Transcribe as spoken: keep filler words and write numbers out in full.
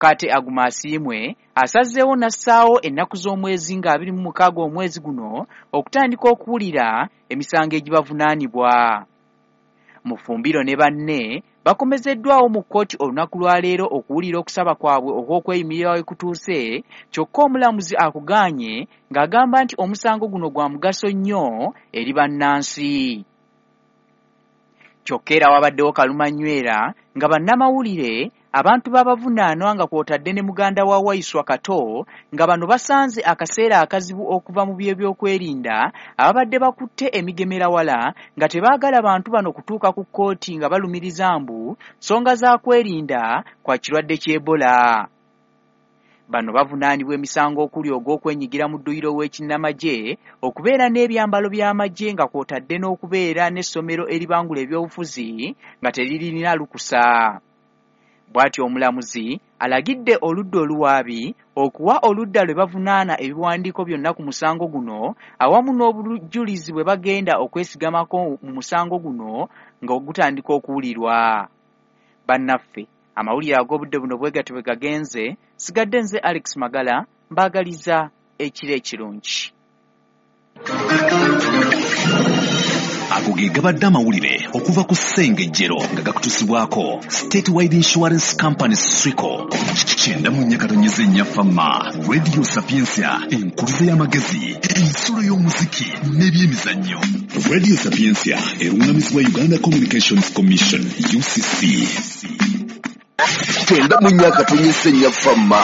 Kate Aguma Asiimwe asazeewo n'assaawo ennaku z'omwezi nga abiri mu mukaaga omwezi guno okutandika okuwulira emisango egibavunaanibwa. Mufumbiro ne banne bakomezeddwawo mu kkooti olunaku lwa leero okuwulira okusaba kwabwe okw'okweyimirira we kutuuse, kyokka omulamuzi akugaanye ng'agamba nti omusango guno gwa mugaso nnyo eri bannansi. Kyokka era wabaddewo kalumanywera nga bannamawulire abantu babavunaanwa nga kw'otadde ne muganda wa Waiswa Kato nga bano basanze akaseera akazibu okuva mu by'ebyokwerinda ababadde bakutte emigemerawala nga tebaagala bantu bano kutuuka ku kkooti nga balumiriza mbu nsonga za kwerinda kwa kirwadde ky'Ebola. Bano bavunaanibwa emisango okuli ogw'okwenyigira mu dduyiro w'ekinnamagye, okubeera n'ebyambalo by'amagye nga kw'otadde n'okubeera n'essomero eribangula ebyobufuzi nga teririna lukusa. Bw'atyo omulamuzi alagidde oludda oluwaabi okuwa oludda lwe bavunaana ebiwandiiko byonna ku musango guno awamu n'obujulizi bwe bagenda okwesigamako mu musango guno nga gutandika okuwulirwa. Bannaffe, amawulire ag'obudde buno bwe gatyo bwe gagenze. Sigadde nze Alex Magala, mbaagaliza ekiro ekirungi. Ago ge gabadde amawulire okuva ku Ssengejjero nga gakutusibwako Statewide Insurance Company Swico. Kyenda mu nnya katonyeze nnya Fama Radio Sapientia, enkuluze y'amagezi, ensulo y'omuziki n'ebyemizannyo. Radio Sapientia eruŋŋamizibwa Uganda Communications Commission U C C. Kyenda mu nnya katonyeze nnya Fama.